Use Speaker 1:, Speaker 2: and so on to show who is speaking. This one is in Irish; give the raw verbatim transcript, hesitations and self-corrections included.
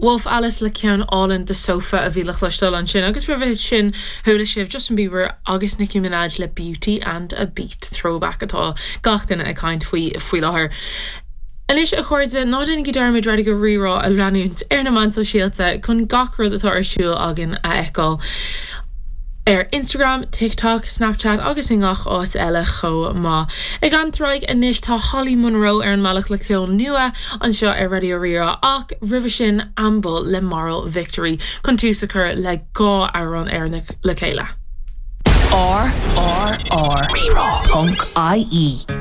Speaker 1: Wolf Alice le ceann álainn The Sofa a bhí le cloisteáil ansin agus roimhe sin chuala sibh Justin Bieber agus Nicki Minaj le Beauty and a Beat throwback atá gach duine ag caint faoi faoi láthair. Anois a chairde ná déanaigí dearmad Raidió Rí-Rá a leanúint ar na meáin sóisialta chun gach rud atá ar siúl againn a fheiceáil. Ar Instagram, TikTok, Snapchat agus i ngach áit eile chomh maith. Ag leanúint anois tá Holly Monroe ar an mbealach le ceol nua anseo ar Raidió Rí-Rá ach roimhe sin Amble le Moral Victory chun tús a chur le dhá amhrán Éireannach le chéile.
Speaker 2: R R R Rírá ponc IE.